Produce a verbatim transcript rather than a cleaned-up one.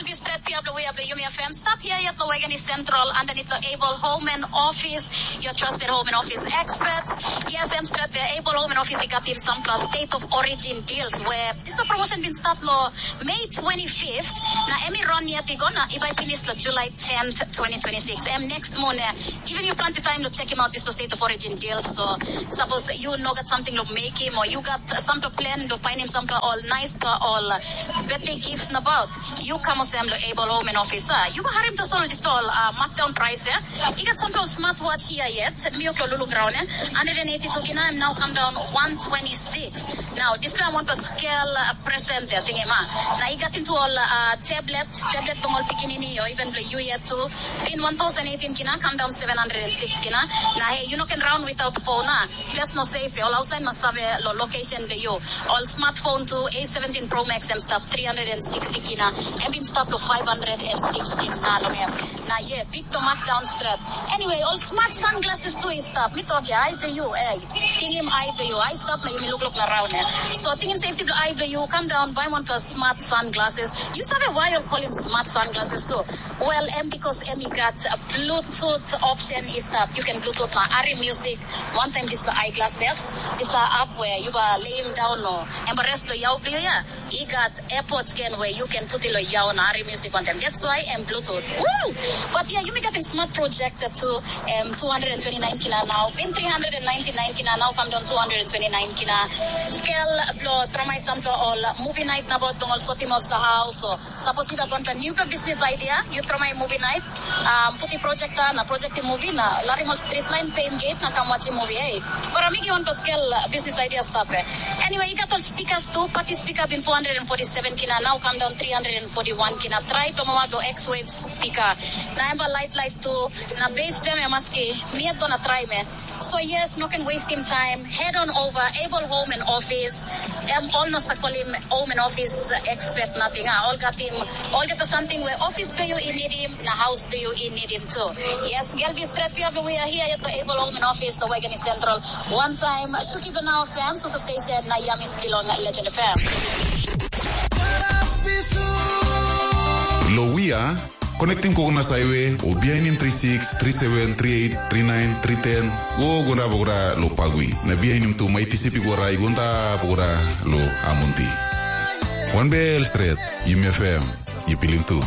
Yu stret pia bilong we bilong Yumi F M. Stap hia yet lo Wegani Central underneath the Able Home and Office, your trusted home and office experts. Yes, em stret the Able Home and Office i gat im sampla state of origin deals where this promotion bin start lo May twenty-fifth. Na em i run yet i go na i bai finish lo July tenth, twenty twenty-six. Em next moon eh, giving you plenty time to check him out this state of origin deals. So suppose you know got something to make him or you got some to plan to find him some all nice to all birthday gift na about. You come osem lo Able Home and Office. Ah, you harim to solo this all uh, markdown price eh. You got some smart watch here yet. Set me up lo lulu ground eh. Hundred and eighty-two kina now come down one twenty-six. Now this time I want to scale uh, present eh, thing ma. Na you got into all uh, tablet, tablet bong all pikinini or even lo you yet too. In one thousand eighteen kina come down seven hundred and six kina. Na hey, you no can round without phone ah. Place no safe eh. All outside must have a lo- location be you. All smartphone to A seventeen Pro Max em stap three hundred and sixty kina. Em bin stap to five hundred and six kina long em. Na yeah, big to mark down strap. Anyway, all smart sunglasses too is stap. Mi talk yeah, I be you, eh. King him I be you. I stop na you me look look around eh. So king him safety I be you. Come down, buy one plus smart sunglasses. You sabi why you call him smart sunglasses too? Well, em because em i gat a Bluetooth option is that you can Bluetooth na Ari Music one time this the eyeglass self. This the app where you are laying down no. Em rest lo yau blue ya. I gat AirPods again where you can put it lo yau na Ari Music one time. That's why em Bluetooth. Woo! But yeah, you may get a smart projector too. Um, two hundred and twenty-nine kina now. Been three hundred and ninety-nine kina now. Come down two hundred and twenty-nine kina. Scale blo tramai sampla all movie night na bot bong all sort of the house. So Suppose you got one new business idea, you try my movie night, um, put the projector na project the movie na lari mo street line pay gate na come watch a movie hey. Para mi gi one to scale uh, business idea stop eh. Anyway, you got all speakers too, party speaker been four hundred and forty-seven kina, now come down three hundred and forty-one kina, try to mama do X-Wave speaker. Na emba light light too, na bass dem e maski, mi at gonna try me. So yes, no can waste him time. Head on over, Able Home and Office. Um, all no sakolim home and office expert nothing. Ah, all got him. All get to something where office do you in need him, na house do you in need him too. Yes, girl be straight. We are we are here at the Able Home and Office, the Wagani Central. One time, Shuki the now fam, so station na Yami Spilong Legend F M. Lo we are Connecting Kokonas Highway o bihainim three six, three seven, three eight, three nine, three ten, go go na bokora lo Pagui. Na bihainim tu mai T C P go rai go nda bokora lo Amonti. One bell straight, Yumi F M, you believe too.